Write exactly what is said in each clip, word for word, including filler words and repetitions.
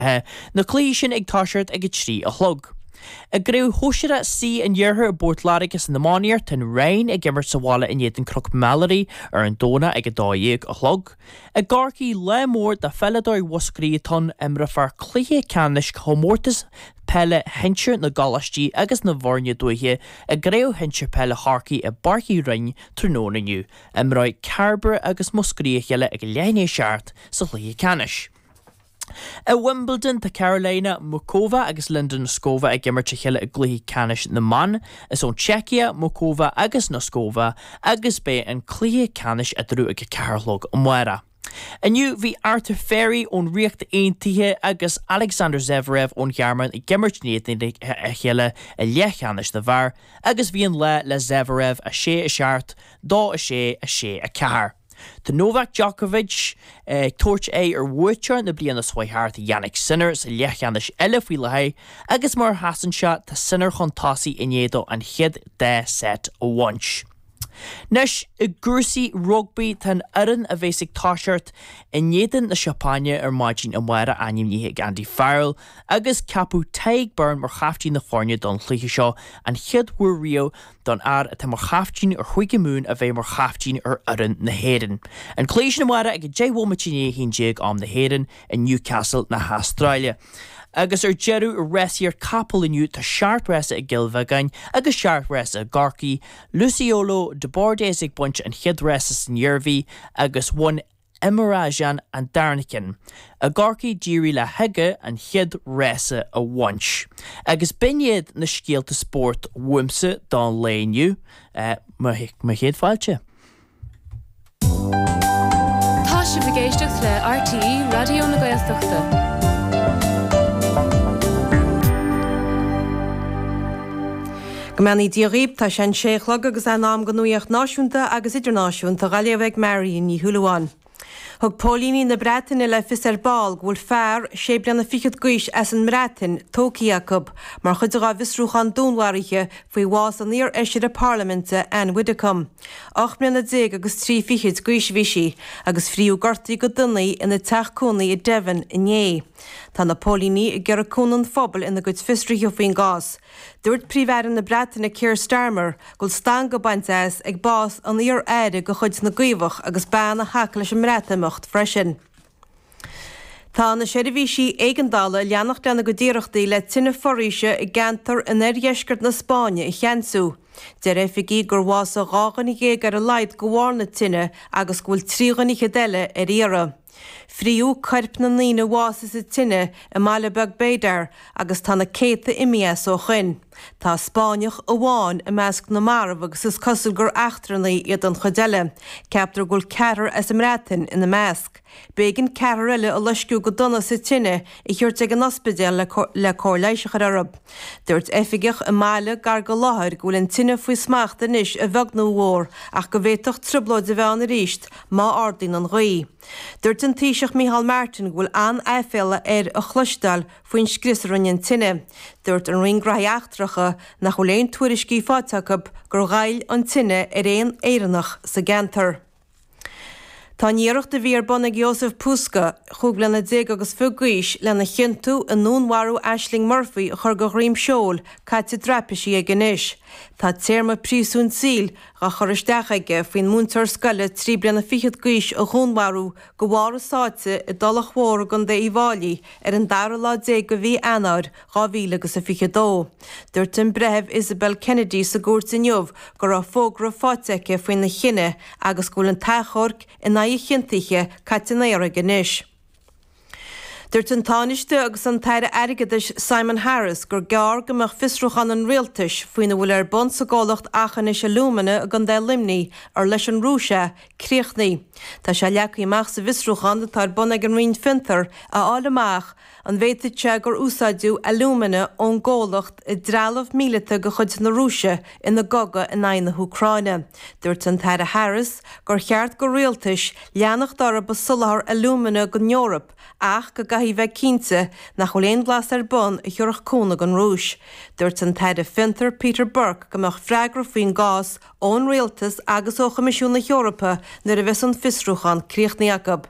Na cluichí sin ag toiseacht ag a trí a chlog. I gCraobh Shóisearach C an Iarthair i bPort Láirge san iománaíocht, tá an Rinn ag imirt sa bhaile in éadan Cnoc Mheálaí ar an Domhnach ag a dó dhéag a chlog. I gCorcaigh, lá mór do pheileadóirí Mhúscraí atá ann, imreofar cluiche ceannais chomórtas peile shinsir na gcoláistí agus na bhfoirne dúiche i gCraobh Shinsir Peile Chorcaí i bPáirc Uí Rinn tráthnóna inniu. Imreoidh Cairbre agus Múscraí a chéile ag leath i ndiaidh a seacht sa chluiche ceannais. I Wimbledon tá Karolina Muchova agus Linda Noskova ag imirt a chéile i gcluiche ceannais na mban. Is ón tSeicia, Muchova agus Noskova agus beidh an cluiche ceannais eatarthu ag a ceathair a chlog amárach. Inniu bhí Arthur Fery ón Ríocht Aontaithe agus Alexander Zverev ón Ghearmáin ag imirt in éadan a chéile i leathcheannais na bhfear agus bhí an lá le Zverev a sé a seacht, dó a sé, a sé a ceathair. Tá Novak Djokovic ag tabhairt aghaidh ar bhuaiteoir na bliana seo thart Jannik Sinner sa leathcheannais eile faoi láthair agus mar a sheasann sé tá Sinner chun tosaigh i ndiaidh dó an chéad dá set a bhaint. Anois i gcúrsaí rugbaí tá an fhoireann a bheas ag toiseacht in éadan na Seapáine ar maidin amárach ainmnithe ag Andy Farrell agus ceapadh Tadhg Beirne mar chaiftín na foirne don chluiche seo, an chéad uair riamh don fhear atá mar chaiftín ar Chúige Mumhan a bheith mar chaiftín ar fhoireann na hÉireann. An cluiche sin amárach ag deich bhomaite i ndiaidh a haon déag am na hÉireann i Newcastle na hAstráile. Agus ar deireadh i rásaíocht capall inniu tá seacht rása i gCill Bheagáin agus seacht rása i gCorcaigh, Luciolo de Bordes ag baint an chéad rása san Iarmhí agus bhain Imarajan an darna ceann. I gCorcaigh d'éirigh le hAige an chéad rása a bhaint. Agus b'in iad na scéalta spóirt uaimse don lae inniu, mo chéad fáilte. Tá sibh ag éisteacht le RTÉ Raidió na Gaeltachta. Go mbeannaí Dia dhaoibh, tá sé an sé a chlog agus é in am don nuacht náisiúnta agus idirnáisiúnta á léamh ag Marion Ní Shúilleabháin. Thug póilíní na Breataine le fios ar ball go bhfuil fear sé bliana fichead d'aois as an mBreatain tógtha acu mar chuid dá bhfiosrúchán dúnmharaithe faoi bhás an iar-fheisire parlaiminte Ann Widdecombe. Ocht mbliana déag agus trí fichid d'aois a bhí sí agus fríodh gortaithe go dona í ina teach cónaí i Devon inné. Tá na póilíní ag iarraidh cúnamh an phobail ina gcuid fiosruithe faoin gcás. Dúirt Príomh-Aire na Breataine Keir Starmer go bhfuil stangadh bainte as ag bás an iar-aire de chuid na gCaomhach agus bean a thacaigh leis an mBreatimeacht freisin. Tá na seirbhísí éigeandála ag leanacht lena gcuid iarrachtaí le tine foraoise i gceantar in oirdheisceart na Spáinne a cheansú. Deir oifigigh gur bhásaigh dhá dhuine dhéag ar a laghad de bharr na tine agus go bhfuil trí dhuine fhichead eile ar iarraidh. Fríodh coirp na ndaoine a bhásaigh sa tine i mbaile beag Bédar agus tá na céadta imithe as ó shoin. Tá Spáinneach amháin i measc na marbh agus is cosúil gur eachtrannaigh iad an chuid eile. Ceaptar go bhfuil ceathrar as an mBreatain ina measc. B'éigean ceathrar eile a loisceadh go dona sa tine a thabhairt ag an ospidéal le cóir leighis a chur orthu. Dúirt oifigeach i mbaile gar don láthair go bhfuil an tine faoi smacht anois a bheag nó a mhór ach go bhféadfadh trioblóid a bheith ann arís má ardaíonn an ghaoth. Dúirt an Taoiseach Micheál Martin go bhfuil an-aiféala air a chloisteáil faoin scrios a rinne an tine. Dúirt an Roinn Gnóthaí Eachtracha nach bhfuil aon tuairiscí faighte acu gur ghoill an tine ar aon Éireannach sa gceantar. Tá an iarracht a bhí ar bun ag Jozef Puska, chúig bliana déag agus fiche d'aois, lena chiontú i ndúnmharú Ashling Murphy a chur de dhroim seoil, caite i dtraipisí aige anois. Tá téarma príosúin saoil dhá chur isteach aige faoin múinteoir scoile trí bliana fichead d'aois a dhúnmharú de bharr a sáite i dTulach Mhór i gContae Uíbh Fháilí ar an dara lá déag de mhí Eanáir dhá mhíle agus a fiche dó. Dúirt an Breitheamh Isabel Kennedy sa gcúirt inniu go raibh fógra faighte aici faoina chinneadh agus go bhfuil an t-achomharc in aghaidh a chiontaithe caite in aer aige anois. Dúirt an Tánaiste agus an tAire Airgeadais Simon Harris gur gearr go mbeadh fiosrúchán an rialtais faoina bhfuil ar bun sa gcomhlacht Aughinish Alumina i gContae Luimnigh, ar leis an Rúis é, críochnaithe. Tá sé leagtha amach sa bhfiosrúchán atá ar bun ag an Roinn Fiontar a fháil amach an bhféadfadh sé gur úsáideadh alúmana ón gcomhlacht i dtrealamh míleata de chuid na Rúise ina gcogadh in aghaidh na hÚcráine. Dúirt an tAire Harris gur cheart do rialtais leanacht orthu ag soláthar alúmana don Eoraip ach go gcaithfidh bheith cinnte nach bhfuil aon bhlas ar bun a thiúrfadh cúnamh don Rúis. Dúirt an tAire Fiontar Peter Burke go mbeadh freagra faoin gcás ón rialtas agus ó Choimisiún na hEorpa nuair a bheas an fiosrúchán críochnaithe acu.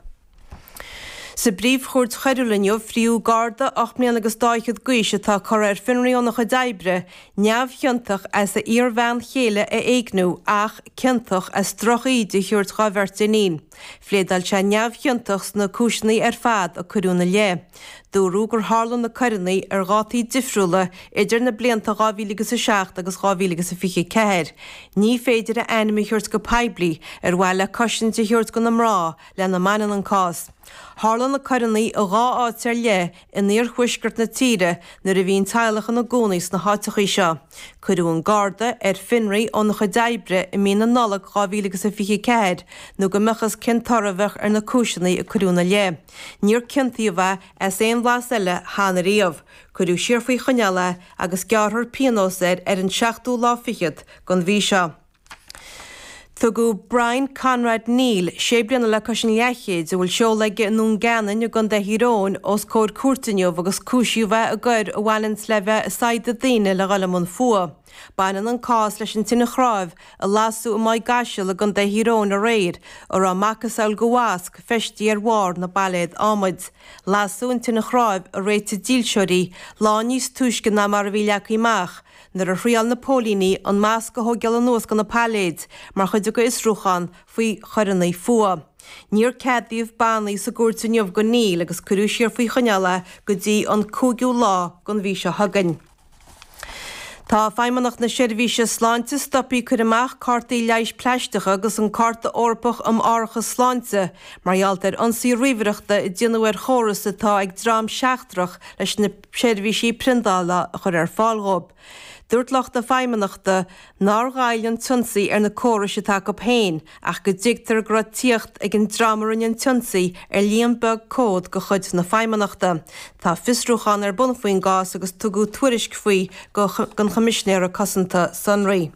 Sa bPríomh-Chúirt Choiriúil inniu, fríodh Garda ocht mbliana agus dá fhichead d'aois atá curtha ar fionraí óna chuid oibre, neamhchiontach as a iarbhean chéile a éigniú ach ciontach as drochíde a thabhairt dhá bheirt iníon. Phléadáil sé neamhchiontach sna cúiseanna ar fad a cuireadh ina leith. Dúradh gur tharla na coireanna ar dhátaí difriúla idir na blianta dhá mhíle agus a seacht agus dhá mhíle agus a fiche ceathair. Ní féidir a ainm a thabhairt go poiblí ar mhaithe le cosaint a thabhairt do na mná lena mbaineann an cás. Tharla na coireanna i dhá áit ar leith in iarthuaisceart na tíre nuair a bhí an teaghlach ina gcónaí sna háiteachaí seo. Cuireadh an Garda ar fionraí óna chuid oibre i mí na Nollag dhá mhíle agus a fiche ceathair nó go mbeadh fhios cén toradh a bheadh ar na cúiseanna a cuireadh ina leith. Níor ciontaíodh é as aon bhlas eile cheana riamh. Cuireadh siar faoi choinneáil é agus gearrfar pionós air ar an seachtú lá fichead den mhí seo. Tugadh Brian Conrad Neal, sé bliana le cois an leathchéid, a bhfuil seoladh aige i nDún Geanainn i gContae Thír Eoghain, os comhair cúirte inniu agus cúisíodh é i gcoir a bhaineanns le bheith ag saighdeadh daoine le dhul i mbun fuath. Baineann an cás leis an tine chnáimh a lasadh i Maigh gCaiseal i gContae Thír Eoghain aréir, a raibh macasamhail de mhasc feistithe ar bharr na bpailléad adhmaid. Lasadh an tine chnáimh a réitigh dílseoirí lá níos túisce ná mar a bhí leagtha amach, nuair a thriáil na póilíní an masc a thógáil anuas de na pailléid mar chuid dá bhfiosrúchán faoi choireanna fuatha. Níor ceadaíodh bannaí sa gcúirt inniu do Neal agus cuireadh siar faoi choinneáil é go dtí an cúigiú lá den mhí seo chugainn. Tá Feidhmeannacht na Seirbhíse Sláinte stoptha ag cur amach cártaí leighis plaisteacha agus an Cárta Eorpach um Árachas Sláinte mar gheall ar ionsaí ríomhaireachta a déanadh ar chóras atá ag dream seachtrach leis na seirbhísí priondála a chur ar fáil dhóibh. Dúirt lucht na Feidhmeannachta nár ghoill an t-ionsaí ar na córais atá acu féin ach go dtuigtear go raibh tíocht ag an dream a rinne an t-ionsaí ar líon beag comhad de chuid na Feidhmeannachta. Tá fiosrúchán ar bun faoin gcás agus tugadh tuairisc faoi don Choimisinéara Cosanta Sonraí.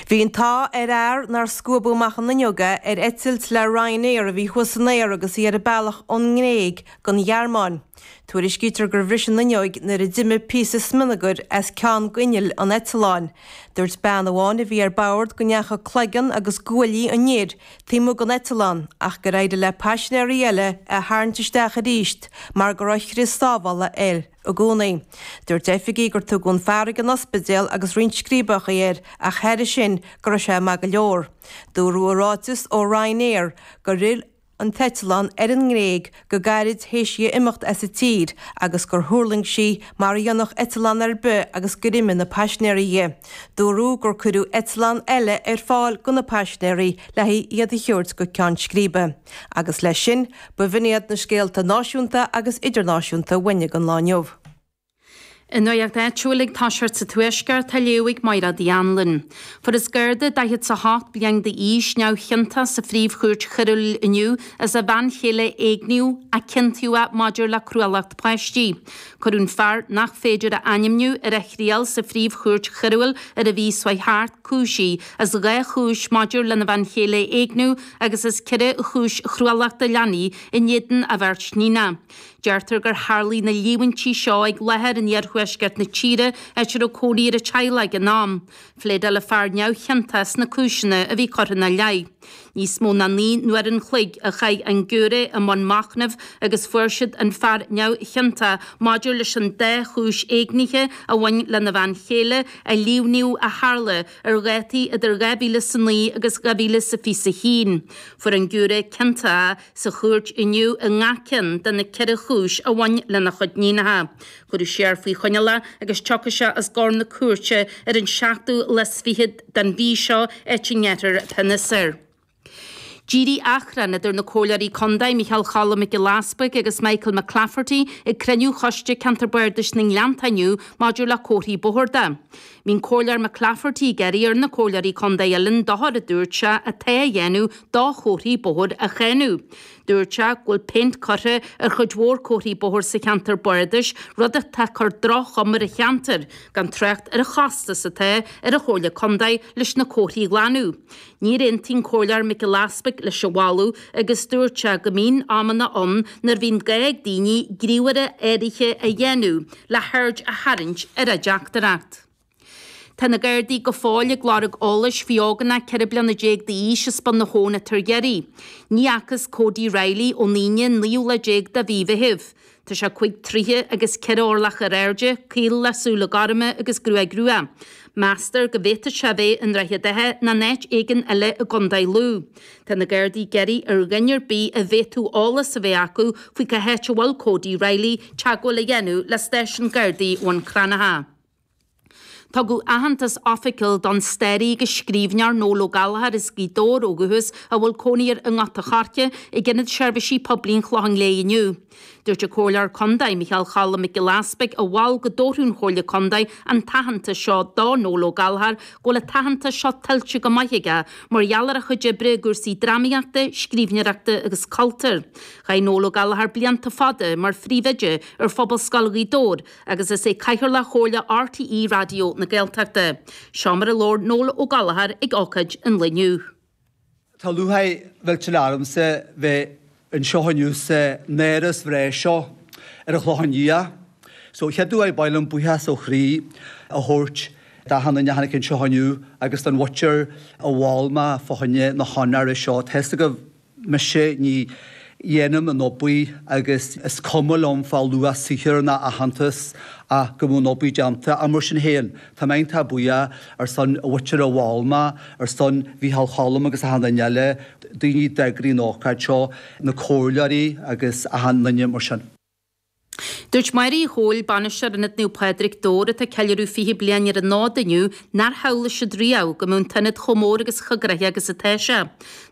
Bhí an t-ádh ar fhear nár scuabadh amach an fhuinneog é ar eitilt le Ryanair a bhí thuas san aer agus í ar a bealach ón nGréig don Ghearmáin. Tuairiscítear gur bhris an fhuinneoig nuair a d'imigh píosa smionagair as ceann d'inneall an eitleáin. Dúirt bean amháin a bhí ar bord go ndeachaigh cloigeann agus guaillí an fhir taobh amuigh den eitleán ach gur éirigh le paisinéirí eile é a tharraingt isteach arís mar go raibh crios sábhála air i gcónaí. Dúirt oifigigh gur tugadh an fear ag an ospidéal agus roinnt scríobacha air ach thairis sin go raibh sé maith go leor. Dúradh i ráiteas ó Ryanair gur fhill an t-eitleán ar an nGréig go gairid théis di imeacht as an tír agus gur thuirling sí mar a dhéanfadh eitleán ar bith agus gur imigh na paisinéirí dhi. Dúradh gur cuireadh eitleán eile ar fáil do na paisinéirí le haghaidh iad a thabhairt go ceann scríbe. Agus leis sin, b'in iad na scéalta náisiúnta agus idirnáisiúnta uainne don lá inniu. An nuacht áitiúil ag toiseacht sa Tuaisceart á léamh ag Máire Uí Anluain. Fuarthas Garda daichead is a hocht bliain d'aois neamhchiontach sa phríomhchúirt choiriúil inniu as a bhean chéile a éigniú ach ciontaíodh é maidir le cruálacht páistí. Cuireadh an fear nach féidir a ainmniú ar a thriail sa phríomhchúirt choiriúil ar an mhí seo thart cúisithe as dhá chúis maidir lena bhean chéile a éigniú agus as ceithre chúis chruálachta leanaí in éadan a bheirt níonacha. Deirtear gur tharlaigh na líomhaintí seo ag láthair in iarthuaisceart na tíre áit a raibh cónaí ar an teaghlach ag an am. Phléadáil an fear neamhchiontach sna cúiseanna a bhí curtha ina leith. Níos mó ná naoi n-uair an chloig a chaith an giúiré i mbun machnaimh agus fuair siad an fear neamhchiontach maidir leis an dá chúis éignithe a bhain lena bhean chéile a líomhnaíodh a tharla ar dhátaí idir dhá mhíle is a naoi agus dhá mhíle is a fiche a haon. Fuair an giúiré ciontach é sa chúirt inniu i ngach ceann de na ceithre chúis a bhain lena chuid níonacha. Cuireadh siar faoi choinneáil é agus tiocfaidh sé os comhair na cúirte ar an seachtú lá is fiche den mhí seo áit a ngearrfar pionós air. D'éirigh achrann idir na Comhairleoirí Contae Micheál Choilm Mac Giolla Easbuig agus Michael McClafferty ag cruinniú Choiste Ceantar Bardais na nGleannta inniu maidir le comharthaí bóthair de. Bhí an Comhairleoir McClafferty ag iarraidh ar na Comhairleoirí Contae eile an dochar a dúirt sé atá á dhéanamh do chomharthaí bóthair a cháineadh. Dúirt sé go bhfuil péint curtha ar chuid mhór comharthaí bóthair sa cheantar bardais, rud atá ag cur droch-chuma ar an cheantar, gan trácht ar an chostas atá ar an Chomhairle Contae leis na comharthaí a ghlanadh. Níor aontaigh an Comhairleoir Mac Giolla Easbuig leis an mholadh agus dúirt sé go mbíonn amanna ann nuair a bhíonn gá ag daoine gníomhartha áirithe a dhéanamh le haird a tharraingt ar a dteachtaireacht. Tá na Gardaí go fóill ag lorg eolais faoi ógánach ceithre bliana déag d'aois as Bun na hAbhann atá ar iarraidh. Ní fhacthas Cody Reilly ón Aoine an naoú lá déag de mhí Mheithimh. Tá sé cúig troighe agus ceithre orlach ar airde, caol le súile gorma agus gruaig rua. Meastar go bhféadfadh sé a bheith i nDroichead Átha nó in áit éigin eile i gContae Lú. Tá na Gardaí ag iarraidh ar dhuine ar bith a bhféadfadh eolas a bheith acu faoi cá háit a bhfuil Cody Reilly teagmháil a dhéanamh le stáisiún Gardaí Bhun Cranncha. Tugadh aitheantas oifigiúil don staraí agus scríbhneoir Noel Ó Gallchóir as Gaoth Dobhair ó dhúchas a bhfuil cónaí air i nGort a' Choirce ag Ionad Seirbhísí Poiblí an Chlocháin Léith inniu. Dúirt an Comhairleoir Contae Micheál Cholm Mac Giolla Easpaig a mhol go dtabharfadh an Chomhairle Contae an t-aitheantas seo do Noel Ó Gallchóir go bhfuil an t-aitheantas seo tuillte go maith aige mar gheall ar a chuid oibre i gcúrsaí drámaíochta, scríbhneoireachta agus cultúir. Chaith Noel Ó Gallchóir blianta fada mar phríomhoide ar Phobalscoil Ghaoth Dobhair agus is é Cathaoirleach Chomhairle RTÉ Raidió na Gaeltachta. Seo mar a labhair Noel Ó Gallchóir ag ócáid an lae inniu. Tá lúcháir mhillteanach ormsa bheith anseo inniu san áras bhreá seo ar an Chlochán Liath. So chéad uair ba mhaith liom buíochas ó chroí a thabhairt d'achan duine a tháinig anseo inniu agus don mhuintir a mhol mé fá choinne na honóra seo. Tá fhios agaibh mise ní dhéanaim an obair agus is cuma liom fá luach saothair ná aitheantas ach go bhfuil an obair déanta. Ach mar sin féin, tá mé iontach buíoch ar son mhuintir a mhol mé, ar son Mhícheál Cholm agus achan duine eile, daoine a d'eagraigh an ócáid seo, na comhairleoirí agus achan duine mar sin. Dúirt Máire Uí Chomhail, bainisteoir Ionad Naomh Pádraig, Dobhar, atá ag ceiliúradh fiche bliain ar an fhód inniu, nár shamhlaigh siad riamh go mbeadh an t-ionad chomh mór agus chomh gnoitheach agus atá sé.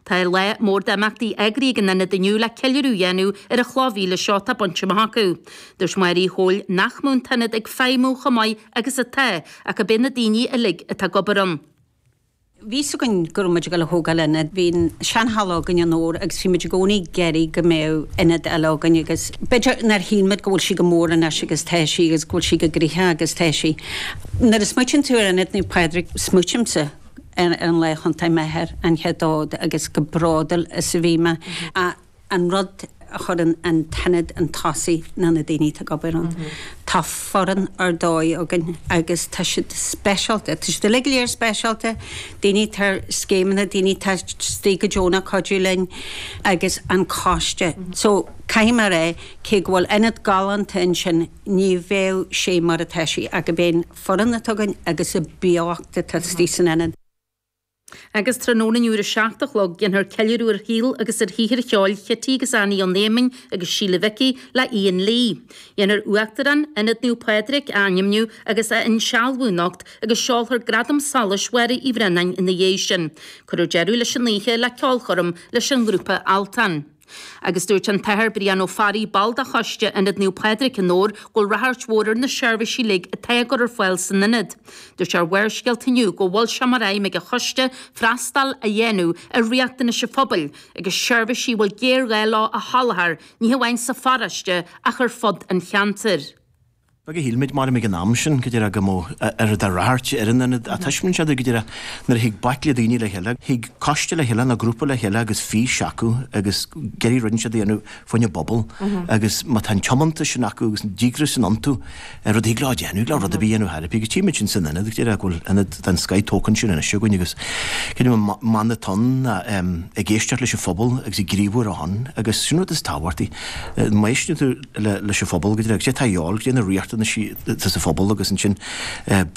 Tá lá mór d'imeachtaí eagraithe ag an ionad inniu le ceiliúradh a dhéanamh ar an chloch mhíle seo atá bainte amach acu. Dúirt Máire Uí Chomhail nach mbeadh an t-ionad ag feidhmiú chomh maith agus atá ach gurb é na daoine uilig atá ag obair ann. Bhí fhios againn go raibh muid ag dul a thógáil ionad, bhí an seanhalla againn i nDobhar agus bhí muid i gcónaí ag iarraidh go mbeadh ionad eile againn agus b'fhéidir nár shíl muid go bhfuil sí chomh mór anois agus tá sí agus go bhfuil sí chomh gnoitheach agus tá sí. Nuair a smaoitíonn tú ar Ionad Naomh Pádraig, smaoitímse ar an lá a thiontaigh m'athair an chéad fhód agus chomh bródúil is a bhí mé. An rud a chuireann an t-ionad chun tosaigh ná na daoine atá ag obair ann. Tá foireann ar dóigh againn agus tá siad speisialta, tá siad uilig go léir speisialta, daoine atá ar scéimeanna, daoine atá istigh go deonach ag cuidiú linn agus an coiste. So caithfidh mé a rá cé go bhfuil ionad galánta ansin ní bheadh sé mar atá sé ach gurb é an foireann atá againn agus an beocht atá istigh san ionad. Agus tráthnóna inniu ar a seacht a chlog déanfar ceiliúradh ar shaol agus ar shaothar cheoil Chití agus Annie Ó Néimin agus Síle Mhicí le Ian Lee. Déanfar Uachtarán Ionad Naomh Pádraig a ainmniú agus a insealbhú anocht agus seolfar Gradam Solais Mháire Uí Bhraonáin ina dhiaidh sin. Cuirfear deireadh leis an oíche le ceolchoirm leis an ngrúpa Altan. Agus dúirt an tAthair Brian Ó Fearraigh, ball de choiste Ionad Naomh Pádraig i nDobhar, go bhfuil ráchairt mhór ar na seirbhísí uilig atá á gcur ar fáil san ionad. Dúirt sé ar Bharrscéalta inniu go bhfuil sé mar aidhm ag an choiste freastal a dhéanamh ar riachtanais an phobail agus seirbhísí a bhfuil géarghá leo a sholáthar, ní hamháin sa pharóiste ach ar fud an cheantair. Beag a shíl muid mar ag an am sin go dtí go mbeadh oiread de ráchairt ar an ionad ach taispeánann sé go dtí nuair a thig baicle daoine le chéile, thig coiste le chéile nó grúpa le chéile agus fís acu agus ag iarraidh rud inteacht a dhéanamh fá choinne an bpobal agus má tá an tiomantas sin acu agus an díograis sin iontu rud a thig leo a dhéanamh, leo rud ar bith a dhéanamh thar agus tchí muid sin san ionad go dtí go bhfuil ionad den scoth tógtha ansin anois againn agus creidim an mana atá ann ná ag éisteacht leis an phobal agus ag gníomhú ar a shon agus sin rud is tábhachtaí. Má éisteann tú leis an phobal go dtí agus é atá a dhíobháil go dtí na riachtanaisí atá sa phobal agus ansin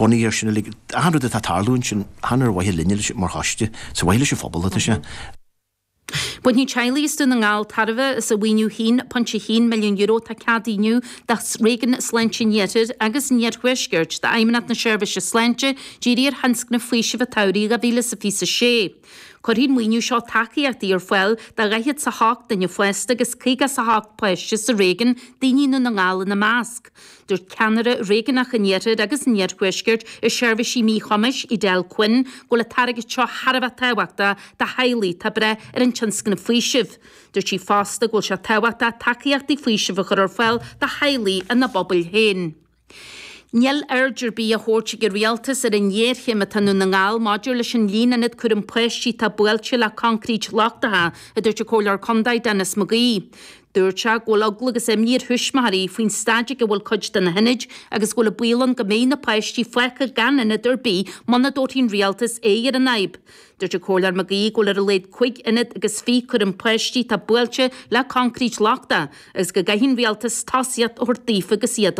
bunaithe ar sin uilig, achan rud atá ag tarlú ansin, chan ar mhaithe linne mar choiste, is ar mhaithe leis an phobal atá sé. Bainfidh teaghlaigh as Dún na nGall tairbhe as an mhaoiniú haon pointe haon milliún euro atá ceadaithe inniu do Réigiún Sláinte an Iarthair agus an Iarthuaiscirt d'Fheidhmeannacht na Seirbhíse Sláinte dírithe ar thionscnamh faoisimh an tsamhraidh dhá mhíle is a fiche a sé. Cuirfidh an maoiniú seo tacaíochtaí ar fáil do dhaichead 's a hocht duine fásta agus caoga 's a hocht páiste sa réigiún, daoine i nDún na nGall ina measc. Dúirt ceannaire réigiúnach an Iarthair agus an Iarthuaiscirt i seirbhísí míchumais, Edel Quinn, go bhfuil an t-airgead seo thar a bheith tábhachtach do theaghlaigh atá ag brath ar an tionscnamh faoisimh. Dúirt sí fosta go bhfuil sé tábhachtach tacaíochtaí faoisimh a chur ar fáil do theaghlaigh ina bpobail féin. Níl aird ar bith á thabhairt ag an rialtas ar an ngéarchéim atá i nDún na nGall maidir leis an líon ionad cúraim páistí atá buailte le coincréit lochtacha, a dúirt an Comhairleoir Contae Denis McGee. Dúirt sé go bhfuil eagla agus imní ar thuismitheoirí faoin staid ag a bhfuil cuid de na hionaid agus go bhfuil an baol ann go mbeidh na páistí fágtha gan ionad ar bith muna dtabharfaidh an rialtas aghaidh ar an fhadhb. Dúirt an Comhairleoir Mac Aoidh go bhfuil ar a laghad cúig ionad agus fiche cúram páistí atá buailte le coincréit lochtach agus go gcaithfidh an rialtas tosaíocht a thabhairt daofa agus iad